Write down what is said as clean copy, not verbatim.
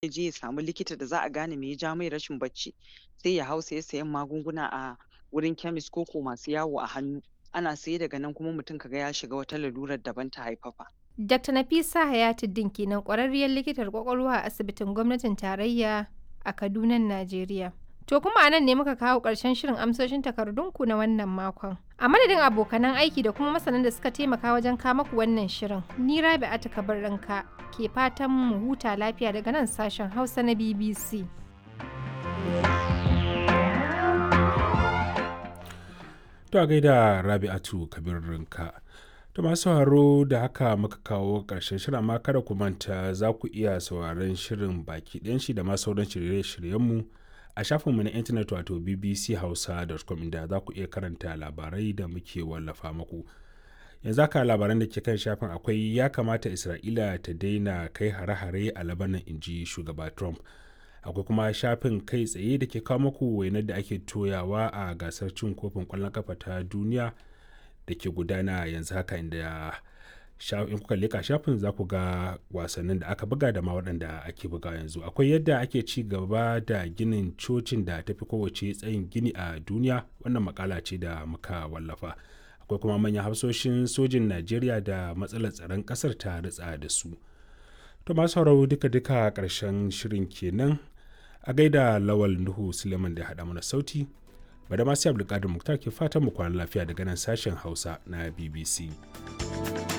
Ya je ya samu likita da za a gane me ya ja mai rashin bacci, sai ya hau saye sayen magunguna a wurin chemist ko ko masu yawo a hannu. Ana saye, daga nan kuma mutum kaga ya shiga wata lalurar daban ta haifafa. Dr. Nafisa Hayatuddin kenan, ƙwararriyar likitar ƙwaƙwalwa a asibitin gwamnatin tarayya a Kadunan Najeriya. To kuma a nan ne muka kawo ƙarshen shirin amsoshin takardunku na wannan makon. A madadin abokanan aiki da kuma masanan da suka taimaka wajen kama ku wannan shirin, ni Rabi'atu Kabirranka ke fatan mu huta lafiya daga nan sashen Hausa na BBC. To a gaida Rabi'atu Kabirranka. To masu sauraro, da haka muka kawo ƙarshen shirin, amma kada ku manta za ku iya sauraron shirin baki ɗayan shi da ma sauran shirye-shiryenmu a shafinmu na intanet, wato bbchausa.com, inda za ku iya karanta labarai da muke wallafa muku. Yanzu haka labaran da ke kan shafin akwai "Ya kamata Isra'ila ta daina kai hare-hare a Labanan," inji shugaba Trump. Akwai kuma shafin kai tsaye da ke kawo muku wainar da ake toyawa a gasar cin kofin ƙwallon kafa ta duniya da ke gudana yanzu haka, inda in kuka leka shafin za ku ga wasannin da aka buga da ma waɗanda ake buga yanzu. Akwai yadda ake ci gaba da ginin cocin da tafi kowace tsayin gini a duniya, wannan makala ce da muka wallafa. Akwai kuma manyan hafsoshin sojin Najeriya da matsalar tsaron ƙasar ta ritsa da su. To masu sauraro, duka-duka ƙarshen shirin kenan. A gaida Lawal Nuhu Suleiman da haɗa mana sauti. Bada masu Abdulkadir Muktar ke fatan mu kwana lafiya daga nan sashen Hausa na BBC.